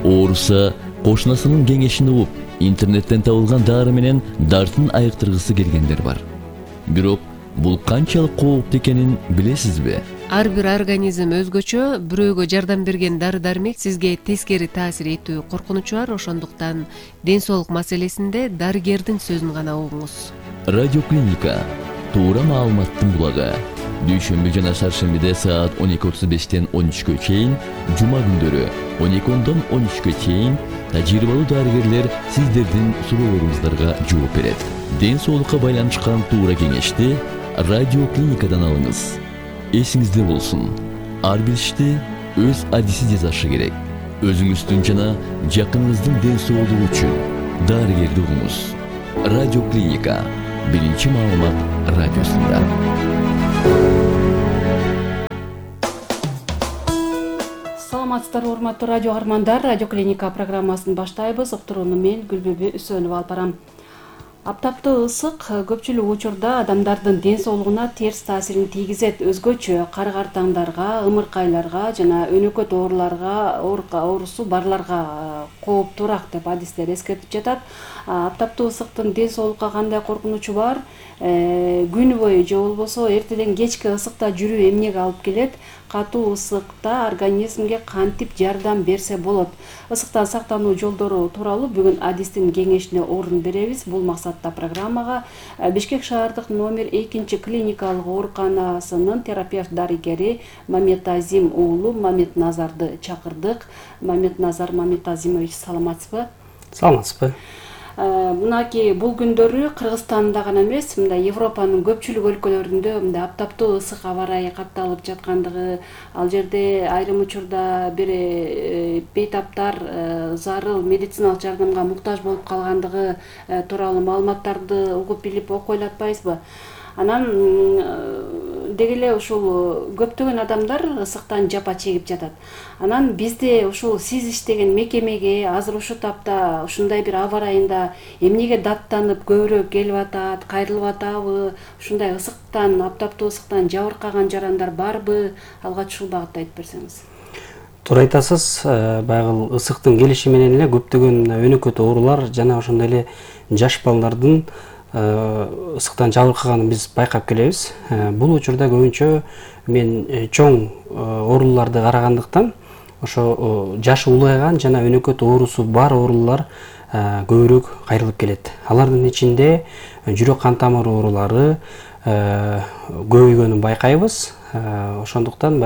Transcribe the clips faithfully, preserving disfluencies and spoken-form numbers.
ооруса кошунасынын кеңешин угуп, интернеттен табылган дары менен дартын айыктыргысы келгендер бар. Бирок бул канчалык кооптуу экенин билесизби? Ар бир организм өзгөчө, бирөөгө жардам берген дары-дармек сизге тескери таасир этүү коркунучу бар, ошондуктан ден соолук маселесинде дарыгердин сөзүн гана угуңуз. Радиоклиника туура маалыматтын булагы. Дүйшөмбү жана шаршембиде саат он эки отуз бештен он үчкө чейин, жума күндөрү он эки ондон он үчкө чейин тажрыйбалуу дарыгерлер сиздердин суроолоруңуздарга жооп берет. Ден соолукка байланышкан туура кеңешти радиоклиникадан алыңыз. Эсиңизде болсун, ар бир ишти өз адиси жасашы керек. Өзүңүздүн жана жакыныңыздын ден соолугу үчүн дарыгерди угуңуз. Радиоклиника биринчи маалымат радиосунда. Саламатсыздарбы, урматтуу радио каармандар, Радиоклиника программасын баштайбыз. Уктурууну мен Гүлбүбү Үсөнова алып барам. Аптаптуу ысык көпчүлүк учурда адамдардын ден соолугуна терс таасирин тийгизет. Өзгөчө кары картаңдарга, ымыркайларга жана өнөкөт ооруларга, оорусу барларга кооптуураак деп адистер эскертип жатат. Аптаптуу ысыктын ден соолукка кандай коркунучу бар? Күнү бою же болбосо эртеден кечке ысыкта жүрүү эмнеге алып келет? Катуу ысыкта организмге кантип жардам берсе болот? Ысыктан сактануу жолдору тууралуу бүгүн адистин кеңешине орун беребиз. Бул максатта программага Бишкек шаардык номер экинчи клиникалык ооруканасынын терапевт дарыгери Маметазим уулу Маметназарды чакырдык. Маметназар Маметазимович, саламатсызбы? Саламатсызбы. Мынакей бул күндөрү Кыргызстанда гана эмес, мындай Европанын көпчүлүк өлкөлөрүндө мындай аптаптуу ысык аба ырайы катталып жаткандыгы, ал жерде айрым учурда бир бейтаптар зарыл медициналык жардамга муктаж болуп калгандыгы тууралуу маалыматтарды угуп билип окуй алатпайбызбы? Анан деги эле ушул көптөгөн адамдар ысыктан жапа чегип жатат. Анан бизде ушул сиз иштеген мекемеге азыр ушу тапта ушундай бир аба ырайында эмнеге даттанып көбүрөөк келип атат, кайрылып атабы? Ушундай ысыктан, аптаптуу ысыктан жабыркаган жарандар барбы? Алгач ушул багытта айтып берсеңиз. Туура айтасыз, баягы ысыктын келиши менен эле көптөгөн өнөкөт оорулар жана ошондой эле жаш балдардын ысыктан жабыркаганын биз байкап келебиз. Бул учурда көбүнчө мен чоң ооруларды карагандыктан ошо жашы улайган жана өнөкөт оорусу бар оорулар көбүрөөк кайрылып келет. Алардын ичинде жүрөк кан тамыр оорулары көбөйгөнүн байкайбыз. Ошондуктан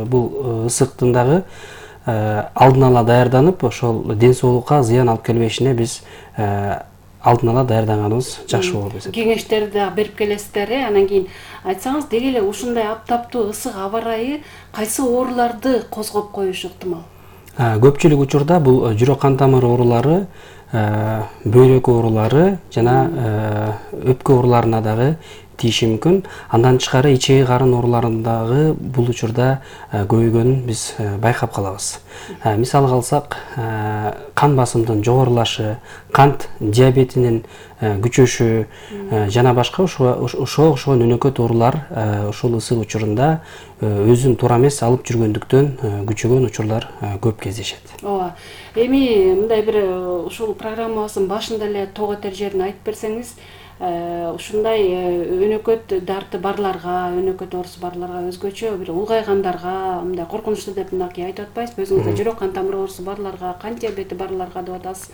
бул ысыктын дагы алдын ала даярданып, ошол ден соолукка зыян алып келбешине биз алдын ала даярданганыбыз жакшы болот эсептейм. Кеңештерди дагы берип келесиздер, анан кийин айтсаңыз, деги эле ушундай аптаптуу ысык аба ырайы кайсы ооруларды козгоп коюшу ыктымал? Көпчүлүк учурда бул жүрөк кан тамыр оорулары, бөйрөк оорулары жана өпкө ооруларына дагы тийиши мүмкүн. Андан тышкары ичеги карын ооруларындагы бул учурда көбөйгөнүн биз байкап калабыз. Мисалга алсак, кан басымдын жогорулашы, кант диабетинин күчөшү жана башка ошого окшогон өнөкөт оорулар ушул ысык учурунда өзүн туура эмес алып жүргөндүктөн күчөгөн учурлар көп кездешет. Ооба. Эми мындай бир ушул программабыздын башында эле тоо кетер жерин айтып берсеңиз, ушундай өнөкөт дарты барларга, өнөкөт оорусу барларга, өзгөчө бир улгайгандарга, мындай коркунучтуу деп мынакей айтып атпайсызбы? Өзүңүздө жүрөк кан тамыр оорусу барларга, кант диабети барларга деп атасыз.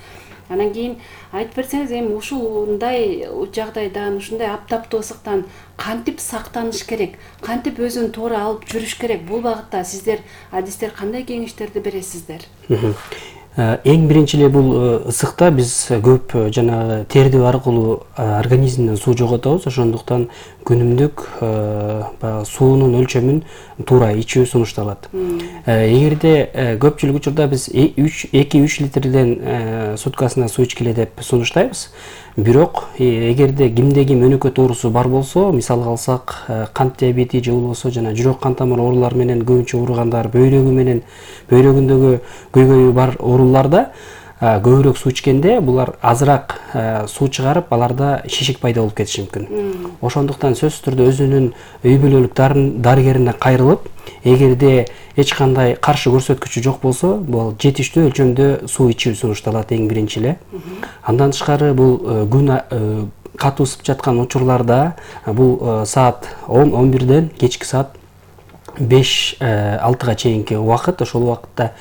Анан кийин айтып берсеңиз, эми ушундай жагдайдан, ушундай аптаптуу ысыктан кантип сактаныш керек? Кантип өзүн туура алып жүрүш керек? Бул багытта сиздер, адистер, кандай кеңештерди бересиздер? Эң биринчи эле бул ысыкта биз көп жанагы терди аркылуу организмден суу жоготобуз. Ошондуктан күнүмдүк баягы суунун өлчөмүн туура ичүү сунушталат. Эгерде көпчүлүк учурда биз эки үч литрден суткасына суу ичкиле деп сунуштайбыз. Бирок эгерде кимде ким өнөкөт оорусу бар болсо, мисалга алсак, кант диабети же болбосо жана жүрөк кан тамыр оорулары менен көбүнчө ооругандар, бөйрөгү менен бөйрөгүндөгү көйгөйү бар ооруларда көбүрөөк суу ичкенде булар азыраак суу чыгарып, аларда шишик пайда болуп кетиши мүмкүн. Ошондуктан сөзсүз түрдө өзүнүн үй бүлөлүк дарыгерине кайрылып, эгерде эч кандай каршы көрсөткүчү жок болсо, бул жетиштүү өлчөмдө суу ичүү сунушталат эң биринчи эле. Андан тышкары бул күн катуу ысып жаткан учурларда, бул саат он он бирден кечки саат беш алтыга чейинки убакыт, ошол убакытта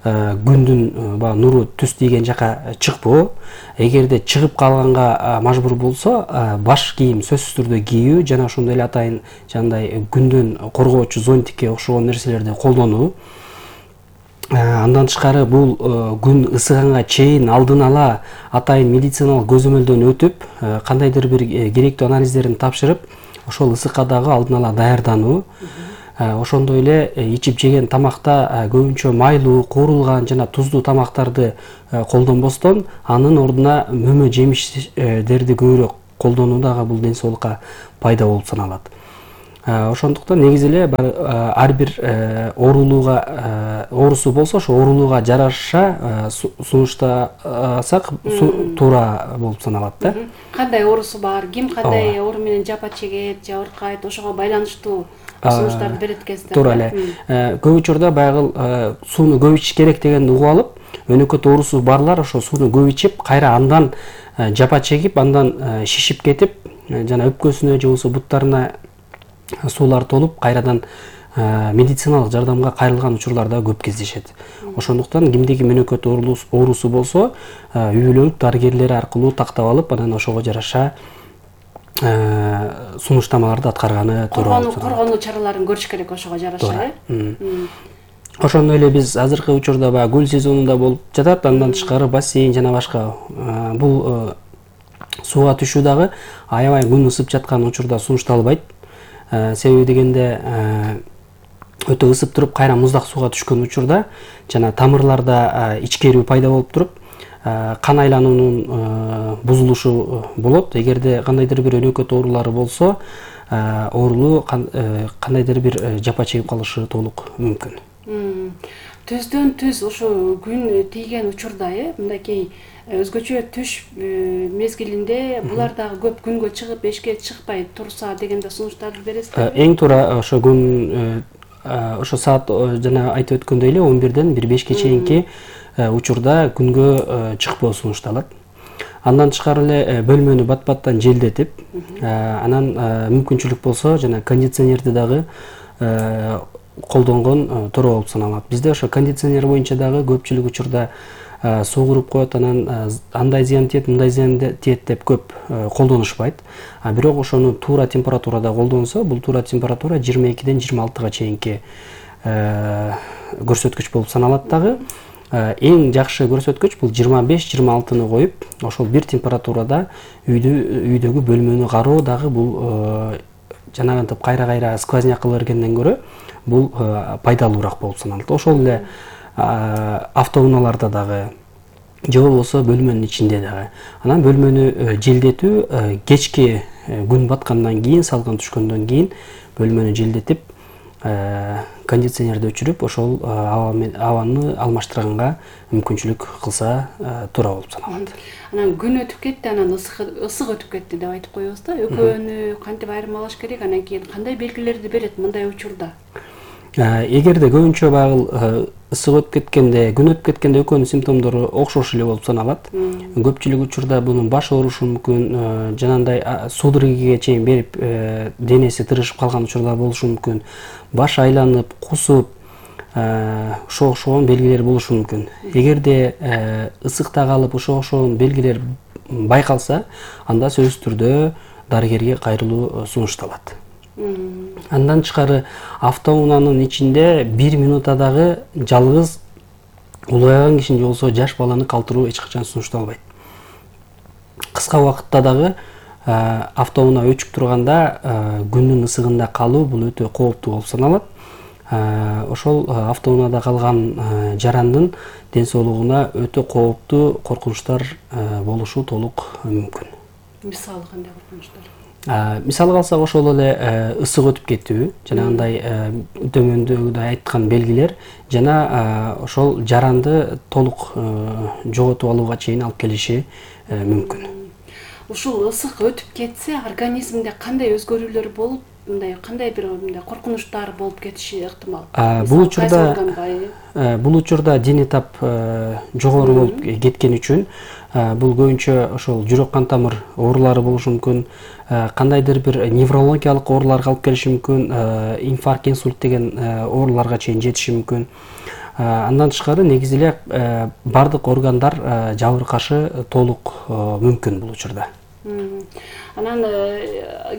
күндүн баягы нуру түз тийген жака чыкпоо. Эгерде чыгып калганга мажбур болсо, баш кийим сөзсүз түрдө кийүү жана ошондой эле атайын жандай күндөн коргоочу зонтикке окшогон нерселерди колдонуу. Андан тышкары бул күн ысыганга чейин алдын ала атайын медициналык көзөмөлдөн өтүп, кандайдыр бир керектүү анализдерин тапшырып, ошол ысыкка дагы алдын ала даярдануу. Ошондой эле ичип жеген тамакта көбүнчө майлуу, куурулган жана туздуу тамактарды колдонбостон, анын ордуна мөмө жемиштерди көбүрөөк колдонуу дагы бул ден соолукка пайда болуп саналат. Ошондуктан негизи эле ар бир оорулууга оорусу болсо, ошо оорулууга жараша сунуштасак туура болуп саналат да. Кандай оорусу бар, ким кандай оору менен жапа чегет, жабыркайт, ошого байланыштуу сунуштарды берет экенсиздер. Туура эле. Көп учурда баягы сууну көп ичиш керек дегенди угуп алып, өнөкөт оорусу барлар ошо сууну көп ичип, кайра андан жапа чегип, андан шишип кетип, жана өпкөсүнө же болбосо буттарына суулар толуп, кайрадан медициналык жардамга кайрылган учурлар да көп кездешет. Ошондуктан кимде ким өнөкөт оорусу болсо, үй бүлөлүк дарыгерлери аркылуу тактап алып, анан ошого жараша сунуштамаларды аткарганы туура. Коргонуу чараларын көрүш керек ошого жараша, э? Ошондой эле биз азыркы учурда баягы көл сезонунда болуп жатат, андан тышкары бассейн жана башка бул сууга түшүү дагы аябай күн ысып жаткан учурда сунушталбайт. Себеби дегенде өтө ысып туруп, кайра муздак сууга түшкөн учурда жана тамырларда ичкерүү пайда болуп туруп, кан айлануунун бузулушу болот. Эгерде кандайдыр бир өнөкөт оорулары болсо, оорулуу кандайдыр бир жапа чегип калышы толук мүмкүн. Түздөн түз ушу күн тийген учурда, э, мындайкей өзгөчө түш мезгилинде булар дагы көп күнгө чыгып, эшикке чыкпай турса дегенде сунуштарды бересиздер. Эң туура ошо күн ошо саат жана айтып өткөндөй эле он бирден бир бешке чейинки учурда күнгө чыкпоо сунушталат. Андан тышкары эле бөлмөнү бат-баттан желдетип, анан мүмкүнчүлүк болсо жана кондиционерди дагы колдонгон туура болуп саналат. Бизде ошо кондиционер боюнча дагы көпчүлүк учурда суу куруп коет, анан андай зыян тиет, мындай зыян тиет деп көп колдонушпайт. А бирок ошону туура температурада колдонсо, бул туура температура жыйырма экиден жыйырма алтыга чейинки көрсөткүч болуп саналат дагы. Эң жакшы көрсөткүч бул жыйырма беш жыйырма алтыны коюп, ошол бир температурада үйдөгү бөлмөнү кароо дагы бул жанагынтип кайра-кайра сквозняк кыла бергенден көрө бул пайдалуураак болуп саналат. Ошол эле автоунааларда дагы, же болбосо бөлмөнүн ичинде дагы. Анан бөлмөнү желдетүү кечки күн баткандан кийин, салкын түшкөндөн кийин бөлмөнү желдетип, кондиционерди өчүрүп, ошол абаны алмаштырганга мүмкүнчүлүк кылса туура болуп саналат. Анан күн өтүп кетти, анан ысык өтүп кетти деп айтып коебуз да. Экөөнү кантип айырмалаш керек? Анан кийин кандай белгилерди берет мындай учурда? Эгерде көбүнчө баягы ысык өтүп кеткенде, күн өтүп кеткенде экөөнүн симптомдору окшош эле болуп саналат. Көпчүлүк учурда бунун баш оорушу мүмкүн, жанагындай судорогага чейин берип, денеси тырышып калган учурлар болушу мүмкүн. Баш айланып, кусуп, ошого окшогон белгилер болушу мүмкүн. Эгерде ысыкта калып, ошого окшогон белгилер байкалса, анда сөзсүз түрдө дарыгерге кайрылуу сунушталат. Андан тышкары автоунаанын ичинде бир минутта дагы жалгыз улгайган кишини же болбосо жаш баланы калтыруу эч качан сунушталбайт. Кыска убакытта дагы автоунаа өчүп турганда күндүн ысыгында калуу бул өтө кооптуу болуп саналат. Ошол автоунаада калган жарандын ден соолугуна өтө кооптуу коркунучтар болушу толук мүмкүн. Мисалы кандай коркунучтар? Мисалга алсак ошол эле ысык өтүп кетүү, жанагындай төмөндөгүдөй айткан белгилер жана ошол жаранды толук жоготуп алууга чейин алып келиши мүмкүн. Ушул ысык өтүп кетсе, организмде кандай өзгөрүүлөр болуп, мындай кандай бир мындай коркунучтар болуп кетиши ыктымал? Бул учурда бул учурда дене тап жогору болуп кеткен үчүн бул көбүнчө ошол жүрөк кан тамыр оорулары болушу мүмкүн, кандайдыр бир неврологиялык ооруларга алып келиши мүмкүн, инфаркт, инсульт деген ооруларга чейин жетиши мүмкүн. Андан тышкары негизи эле бардык органдар жабыркашы толук мүмкүн бул учурда. Анан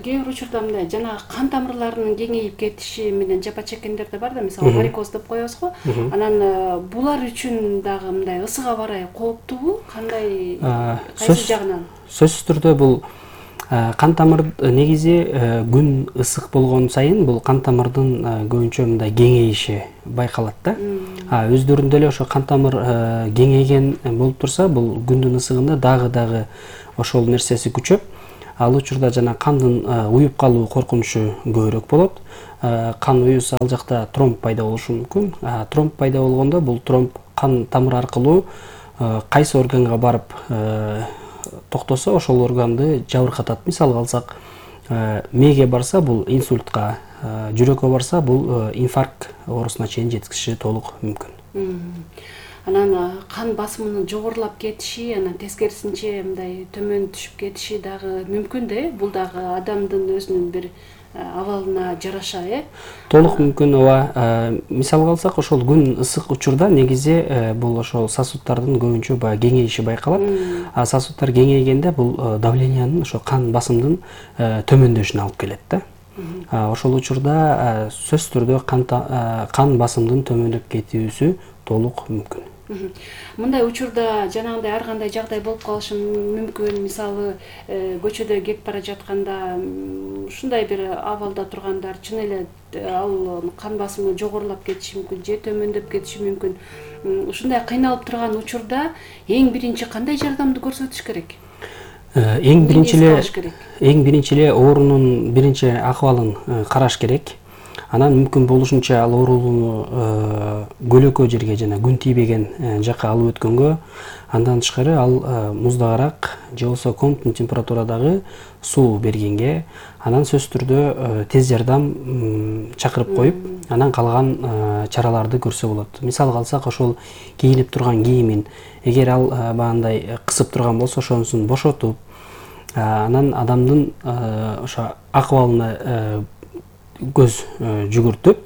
кээ бир учурда мындай жанагы кан тамырларынын кеңейип кетиши менен жапа чеккендер да бар да, мисалы варикоз деп коебуз го. Анан булар үчүн дагы мындай ысык аба ырайы кооптуубу? Кандай, кайсы жагынан? Сөзсүз түрдө бул кан тамыр негизи күн ысык болгон сайын бул кан тамырдын көбүнчө мындай кеңейиши байкалат да. Өздөрүндө эле ошо кан тамыр кеңейген болуп турса, бул күндүн ысыгында дагы дагы ошол нерсеси күчөп, ал учурда жана кандын уюп калуу коркунучу көбүрөөк болот. Кан уюса ал жакта тромб пайда болушу мүмкүн. Тромб пайда болгондо бул тромб кан тамыр аркылуу кайсы органга барып токтосо, ошол органды жабыркатат. Мисалга алсак, мээге барса бул инсультка, жүрөккө барса бул инфаркт оорусуна чейин жеткизиши толук мүмкүн. Анан кан басымынын жогорулап кетиши, анан тескерисинче мындай төмөн түшүп кетиши дагы мүмкүн да, э? Бул дагы адамдын өзүнүн бир абалына жараша, э? Толук мүмкүн, ооба. Мисалга алсак, ошол күн ысык учурда негизи бул ошол сосудтардын көбүнчө баягы кеңейиши байкалат. А сосудтар кеңейгенде бул давлениянын, ошо кан басымдын төмөндөшүнө алып келет да. Ошол учурда сөзсүз түрдө кан басымдын төмөндөп кетүүсү толук мүмкүн. Мындай учурда жанагындай ар кандай жагдай болуп калышы мүмкүн. Мисалы, көчөдө кетип бара жатканда ушундай бир абалда тургандар чын эле ал кан басымы жогорулап кетиши мүмкүн же төмөндөп кетиши мүмкүн. Ушундай кыйналып турган учурда эң биринчи кандай жардамды көрсөтүш керек? Эң биринчи эле эң биринчи эле оорунун биринчи акыбалын караш керек. Анан мүмкүн болушунча ал оорууну көлөкө жерге жана күн тийбеген жакка алып өткөнгө, андан тышкары ал муздагыраак же болбосо комнатный температурадагы суу бергенге, анан сөзсүз түрдө тез жардам чакырып коюп, анан калган чараларды көрсө болот. Мисалга алсак, ошол кийинип турган кийимин эгер ал баягындай кысып турган болсо, ошонусун бошотуп, анан адамдын ошо акыбалына көз жүгүртүп,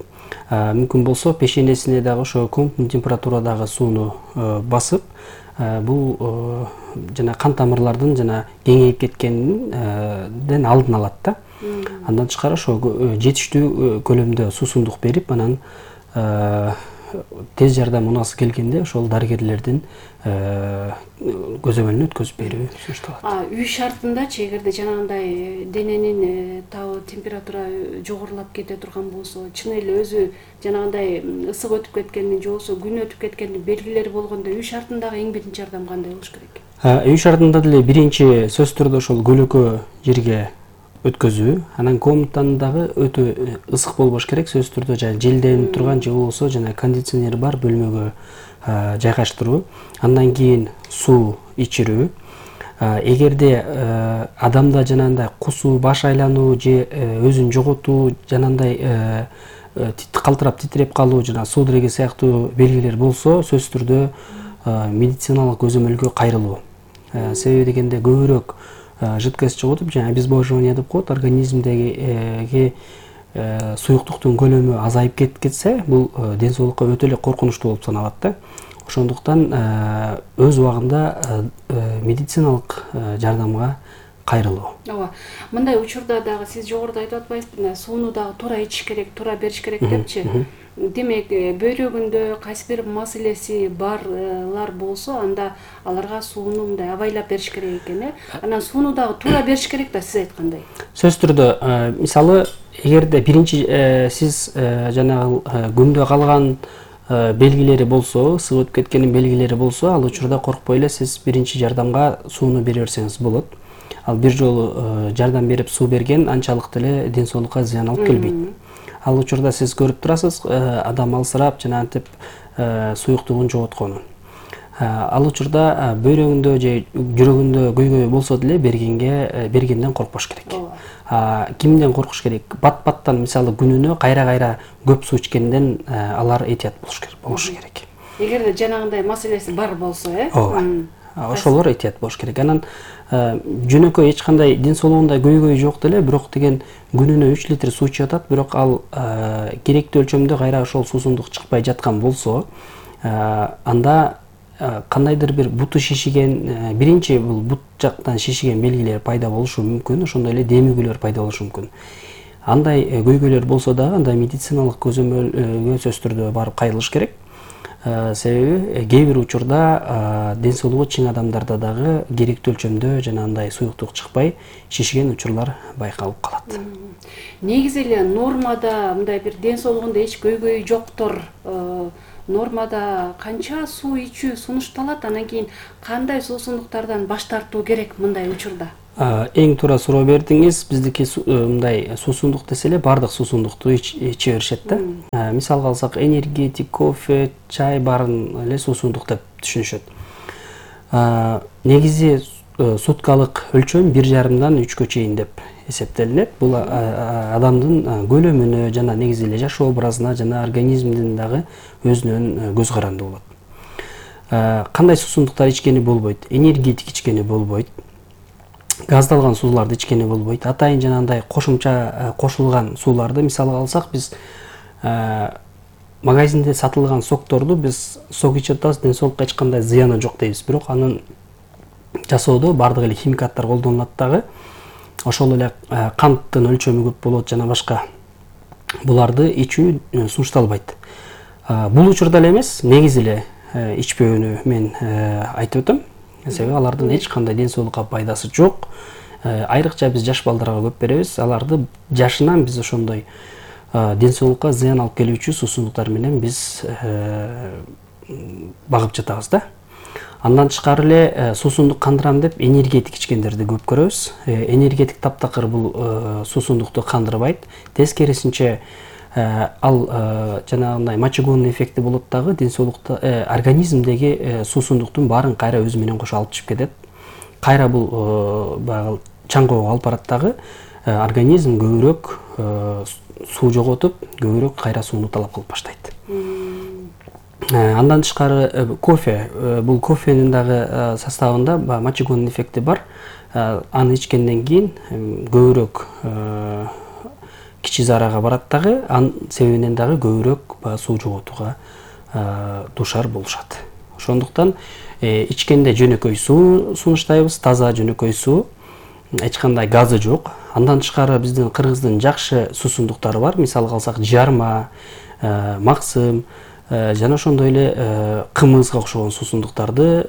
мүмкүн болсо пешенесине дагы ошо комнатный температурадагы сууну басып, бул жана кан тамырлардын жана кеңейип кеткенден алдын алат да. Андан тышкары ошо жетиштүү көлөмдө суусундук берип, анан тез жардам унасы келгенде ошол дарыгерлердин көзөмөлүнө өткөзүп берүү сунушталат. Үй шартындачы эгерде жанагындай дененин табы температура жогорулап кете турган болсо, чын эле өзү жанагындай ысык өтүп кеткендин же болбосо күн өтүп кеткендин белгилери болгондо үй шартындагы эң биринчи жардам кандай болуш керек? Үй шартында деле биринчи сөзсүз түрдө ошол көлөкө жерге өткөзүү, анан комнатаны дагы өтө ысык болбош керек, сөзсүз түрдө жана желденип турган же болбосо жана кондиционер бар бөлмөгө жайгаштыруу. Андан кийин суу ичирүү. Эгерде адамда жанагындай кусуу, баш айлануу же өзүн жоготуу, жанагындай калтырап титиреп калуу жана судорога сыяктуу белгилер болсо, сөзсүз түрдө медициналык көзөмөлгө кайрылуу. Себеби дегенде көбүрөөк жидкость жоготуп, жана обезвоживание деп коет, организмдеги суюктуктун көлөмү азайып кетсе, бул ден соолукка өтө эле коркунучтуу болуп саналат да. Ошондуктан өз убагында медициналык жардамга кайрылуу. Ооба. Мындай учурда дагы сиз жогоруда айтып атпайсызбы, сууну дагы туура ичиш керек, туура бериш керек депчи. Демек, бөйрөгүндө кайсы бир маселеси барлар болсо, анда аларга сууну мындай абайлап бериш керек экен, э? Анан сууну дагы туура бериш керек да, сиз айткандай. Сөзсүз түрдө, мисалы, эгерде биринчи сиз жанагы күндө калган белгилери болсо, ысык өтүп кеткенин белгилери болсо, ал учурда коркпой эле сиз биринчи жардамга сууну бере берсеңиз болот. ал бир жолу жардам берип суу берген анчалык деле ден соолукка зыян алып келбейт. Ал учурда сиз көрүп турасыз, адам алсырап жана антип суюктугун жоготконун. Ал учурда бөйрөгүндө же жүрөгүндө көйгөй болсо деле бергенге бергенден коркпош керек. Кимден коркуш керек? Бат-баттан мисалы күнүнө кайра-кайра көп суу ичкенден алар этият болушу керек. Эгерде жанагындай маселеси бар болсо, э? Ооба. Ошолор этият болуш керек. Анан жөнөкөй эч кандай ден соолугунда көйгөй жок деле, бирок деген күнүнө үч литр суу ичип атат, бирок ал керектүү өлчөмдө кайра ошол суусундук чыкпай жаткан болсо, анда кандайдыр бир буту шишиген, биринчи бул бут жактан шишиген белгилер пайда болушу мүмкүн, ошондой эле демигүүлөр пайда болушу мүмкүн. Андай көйгөйлөр болсо дагы анда медициналык көзөмөлгө сөзсүз түрдө барып кайрылыш керек. Себеби кээ бир учурда ден соолугу чың адамдарда дагы керектүү өлчөмдө жана андай суюктук чыкпай шишиген учурлар байкалып калат. Негизи эле нормада мындай бир ден соолугунда эч көйгөй жоктор, нормада канча суу ичүү сунушталат, анан кийин кандай суусундуктардан баш тартуу керек мындай учурда? Эң туура суроо бердиңиз. Биздики мындай суусундук десе эле баардык суусундукту иче беришет да. Мисалга алсак, энергетик, кофе, чай баарын эле суусундук деп түшүнүшөт. Негизи суткалык өлчөм бир жарымдан үчкө чейин деп эсептелинет. Бул адамдын көлөмүнө жана негизи эле жашоо образына жана организмдин дагы өзүнөн көз каранды болот. Кандай суусундуктар ичкени болбойт? Энергетик ичкени болбойт. Газдалган сууларды ичкени болбойт. Атайын жанагындай кошумча кошулган сууларды мисалга алсак, биз магазинде сатылган сокторду биз сок ичип атабыз, ден соолукка эч кандай зыяны жок дейбиз. Бирок анын жасоодо баардык эле химикаттар колдонулат дагы. Ошол эле канттын өлчөмү көп болот жана башка. Буларды ичүү сунушталбайт. Бул учурда эле эмес, негизи эле ичпөөнү мен айтып өтөм. Себеби алардын эч кандай ден соолукка пайдасы жок. Айрыкча биз жаш балдарга көп беребиз. Аларды жашынан биз ошондой ден соолукка зыян алып келүүчү суусундуктар менен биз багып жатабыз да. Андан тышкары эле суусундук кандырам деп энергетик ичкендерди көп көрөбүз. Энергетик таптакыр бул суусундукту кандырбайт. Тескерисинче ал жанагындай мочегонный эффекти болот дагы, ден соолукта организмдеги суусундуктун баарын кайра өзү менен кошо алып чыгып кетет. Кайра бул баягы чаңгоого алып барат дагы, организм көбүрөөк суу жоготуп, көбүрөөк кайра сууну талап кылып баштайт. Андан тышкары кофе, бул кофенин дагы составында мочегонный эффекти бар. Аны ичкенден кийин көбүрөөк кичи зарага барат дагы, анын себебинен дагы көбүрөөк суу жоготууга дуушар болушат. Ошондуктан ичкенде жөнөкөй суу сунуштайбыз, таза жөнөкөй суу, эч кандай газы жок. Андан тышкары биздин кыргыздын жакшы суусундуктары бар. Мисалга алсак, жарма, максым жана ошондой эле кымызга окшогон суусундуктарды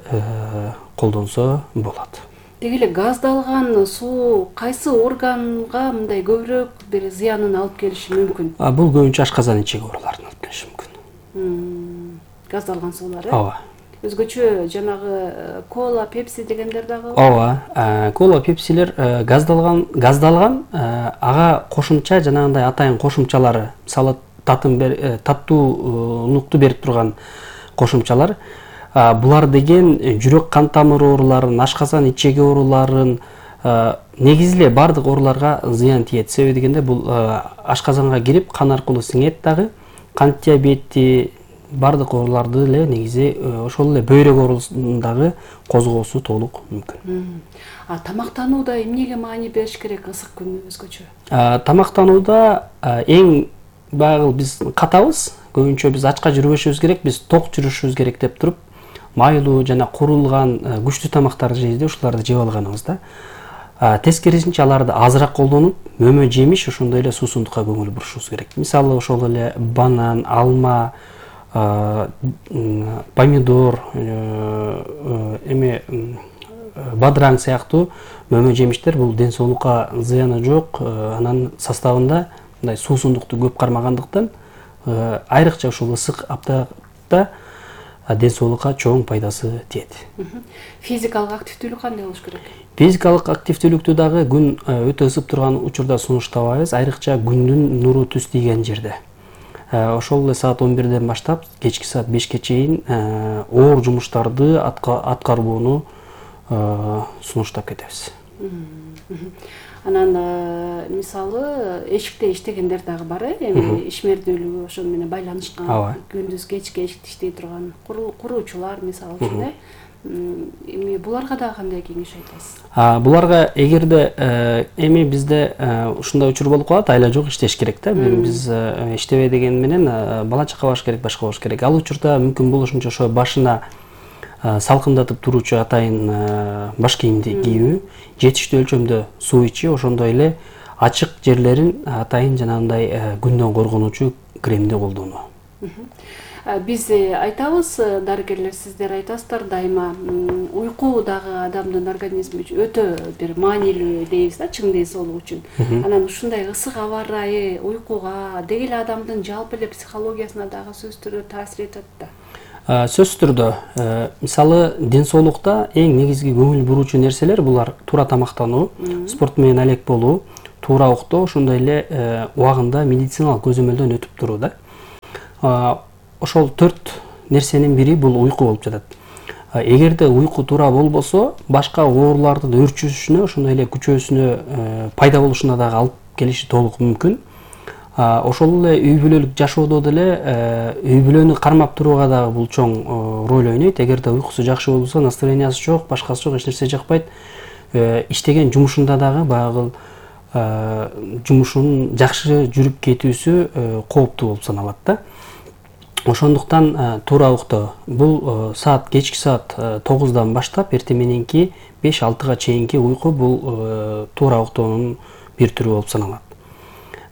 колдонсо болот. Деги эле газдалган суу кайсы органга мындай көбүрөөк бир зыянын алып келиши мүмкүн? Бул көбүнчө ашказан ичеги ооруларын алып келиши мүмкүн. Газдалган суулар, э? Ооба. Өзгөчө жанагы кола, пепси дегендер дагы? Ооба. Кола, пепсилер газдалган, газдалган, ага кошумча жанагындай атайын кошумчалары, мисалы татын бер, таттуулукту берип турган кошумчалар. Булар деген жүрөк кан тамыр ооруларын, ашказан ичеги ооруларын, негизи эле баардык ооруларга зыян тиет. Себеби дегенде бул ашказанга кирип, кан аркылуу сиңет дагы, кант диабети, баардык ооруларды эле негизи ошол эле бөйрөк оорусундагы козгоосу толук мүмкүн. А тамактанууда эмнеге маани бериш керек ысык күнү өзгөчө? Тамактанууда эң баягы биз катабыз, көбүнчө биз ачка жүрбөшүбүз керек, биз ток жүрүшүбүз керек деп туруп, майлуу жана курулган күчтүү тамактарды жейбиз, ушуларды жеп алганыбыз да. Тескерисинче аларды азыраак колдонуп, мөмө жемиш, ошондой эле суусундукка көңүл бурушубуз керек. Мисалы ошол эле банан, алма, помидор, эме бадыраң сыяктуу мөмө жемиштер бул ден соолукка зыяны жок, анан составында мындай суусундукту көп кармагандыктан айрыкча ушул ысык аптапта ден соолукка чоң пайдасы тиет. Физикалык активдүүлүк кандай болуш керек? Физикалык активдүүлүктү дагы күн өтө ысып турган учурда сунуштабайбыз, айрыкча күндүн нуру түз тийген жерде. Ошол эле саат он бирден баштап кечки саат бешке чейин оор жумуштарды аткарууну сунуштап кетебиз. Анан мисалы эшикте иштегендер дагы бар, эми ишмердүүлүгү ошол менен байланышкан, күндүз кечке эшикте иштей турган куруучулар мисалы үчүн эми буларга дагы кандай кеңеш айтасыз? Буларга эгерде эми бизде ушундай учур болуп калат, айла жок иштеш керек да. Биз иштебей деген менен бала чака баш керек, башка болуш керек. Ал учурда мүмкүн болушунча ошо башына салкындатып туруучу атайын баш кийимди кийүү, жетиштүү өлчөмдө суу ичүү, ошондой эле ачык жерлерин атайын жанагындай күндөн коргонуучу кремди колдонуу. Биз айтабыз, дарыгерлер, сиздер айтасыздар дайыма, уйку дагы адамдын организми үчүн өтө бир маанилүү дейбиз да, чың ден соолук үчүн. Анан ушундай ысык аба ырайы уйкуга, деги эле адамдын жалпы эле психологиясына дагы сөзсүз түрдө таасир этет да. Сөзсүз түрдө, мисалы ден соолукта эң негизги көңүл буруучу нерселер булар туура тамактануу, спорт менен алек болуу, туура уктоо, ошондой эле убагында медициналык көзөмөлдөн өтүп туруу да. Ошол төрт нерсенин бири бул уйку болуп жатат. Эгерде уйку туура болбосо, башка оорулардын өрчүшүнө, ошондой эле күчөөсүнө пайда болушуна дагы алып келиши толук мүмкүн. Ошол эле үй бүлөлүк жашоодо деле үй бүлөнү кармап турууга дагы бул чоң роль ойнойт. Эгерде уйкусу жакшы болбосо, настроениясы жок, башкасы жок, эч нерсе жакпайт, иштеген жумушунда дагы баягы жумушунун жакшы жүрүп кетүүсү кооптуу болуп саналат да. Ошондуктан туура уктоо. Бул саат кечки саат тогуздан баштап эртең мененки беш алтыга чейинки уйку бул туура уктоонун бир түрү болуп саналат.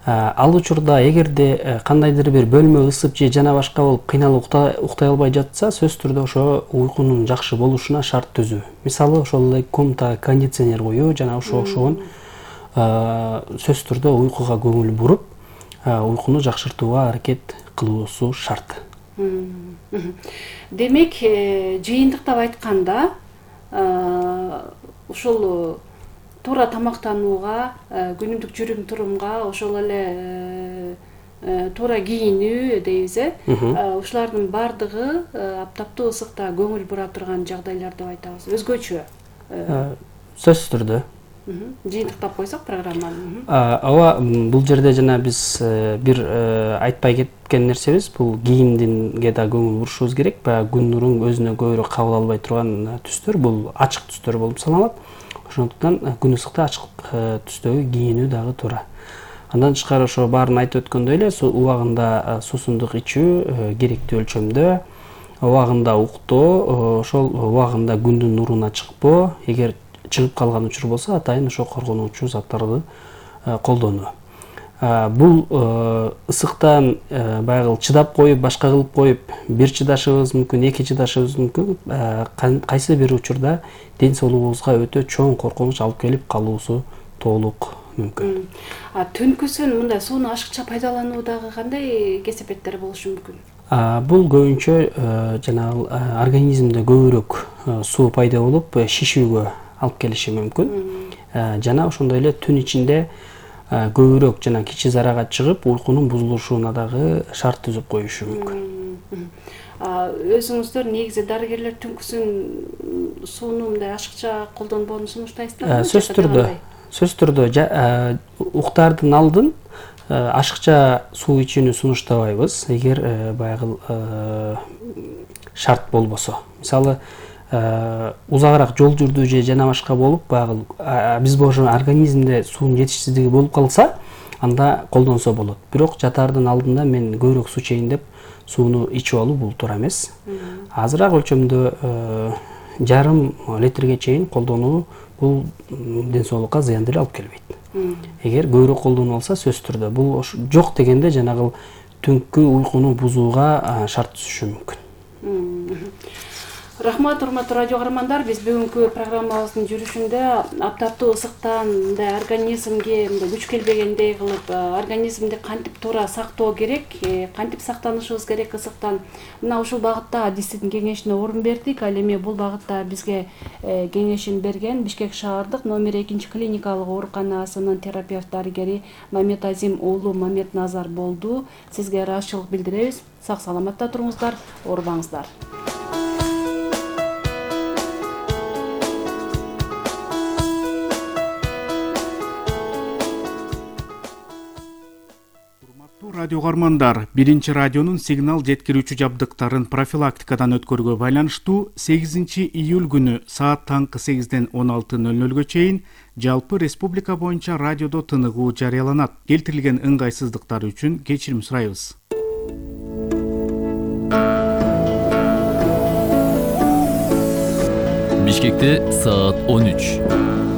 Ал учурда эгерде кандайдыр бир бөлмө ысып же жана башка болуп кыйналып уктай албай жатса, сөзсүз түрдө ошо уйкунун жакшы болушуна шарт түзүү. Мисалы ошол эле комнатага кондиционер коюу жана ошого окшогон сөзсүз түрдө уйкуга көңүл буруп, уйкуну жакшыртууга аракет кылуусу шарт. Демек, жыйынтыктап айтканда, ушул туура тамактанууга, күнүмдүк жүрүм турумга, ошол эле туура кийинүү дейбиз, ушулардын бардыгы аптаптуу ысыкта көңүл бура турган жагдайлар деп айтабыз. Өзгөчө. Сөзсүз түрдө. Жыйынтыктап койсок программаны. Ооба, бул жерде жана биз бир айтпай кеткен нерсебиз, бул кийимдинге да көңүл бурушубуз керек. Баягы күн нурун өзүнө көбүрөөк кабыл албай турган түстөр, бул ачык түстөр болуп саналат. Ошондуктан күн ысыкта ачык түстөгү кийинүү дагы туура. Андан тышкары ошо баарын айтып өткөндөй эле, убагында суусундук ичүү керектүү өлчөмдө, убагында уктоо, ошол убагында күндүн нуруна чыкпоо, эгер чыгып калган учур болсо, атайын ошо коргонуучу заттарды колдонуу. Бул ысыктан баягы чыдап коюп, башка кылып коюп, бир чыдашыбыз мүмкүн, эки чыдашыбыз мүмкүн. Кайсы бир учурда ден соолугубузга өтө чоң коркунуч алып келип калуусу толук мүмкүн. Түнкүсүн мындай сууну ашыкча пайдалануудагы кандай кесепеттер болушу мүмкүн? Бул көбүнчө жанагы организмде көбүрөөк суу пайда болуп, шишүүгө алып келиши мүмкүн. Жана ошондой эле түн ичинде көбүрөөк жана кичи зарага чыгып, уйкунун бузулушуна дагы шарт түзүп коюшу мүмкүн. Өзүңүздөр негизи дарыгерлер түнкүсүн сууну мындай ашыкча колдонбоону сунуштайсыздарбы? Сөзсүз түрдө, сөзсүз түрдө уктаардын алдын ашыкча суу ичүүнү сунуштабайбыз, эгер баягы шарт болбосо. Мисалы, узагыраак жол жүрдү же жана башка болуп, баягы биз ошо организмде суунун жетишсиздиги болуп калса, анда колдонсо болот. Бирок жатаардын алдында мен көбүрөөк суу ичейин деп сууну ичип алуу бул туура эмес. Азыраак өлчөмдө жарым литрге чейин колдонуу бул ден соолукка зыян деле алып келбейт. Эгер көбүрөөк колдонуп алса, сөзсүз түрдө бул жок дегенде жанагы түнкү уйкуну бузууга шарт түзүшү мүмкүн. Рахмат, урматтуу радио каармандар. Биз бүгүнкү программабыздын жүрүшүндө аптаптуу ысыктан мындай организмге мындай күч келбегендей кылып, организмди кантип туура сактоо керек, кантип сактанышыбыз керек ысыктан, мына ушул багытта адистин кеңешине орун бердик. Ал эми бул багытта бизге кеңешин берген Бишкек шаардык номер экинчи клиникалык ооруканасынын терапевт дарыгери Мамет Азим уулу Мамет Назар болду. Сизге ыраазычылык билдиребиз. Сак саламатта туруңуздар, оорубаңыздар. Радио каармандар, биринчи радионун сигнал жеткирүүчү жабдыктарын профилактикадан өткөрүүгө байланыштуу сегизинчи июль күнү саат таңкы сегизден он алты ноль нолго чейин жалпы республика боюнча радиодо тыныгуу жарыяланат. Келтирилген ыңгайсыздыктар үчүн кечирим сурайбыз. Бишкекте саат он үч.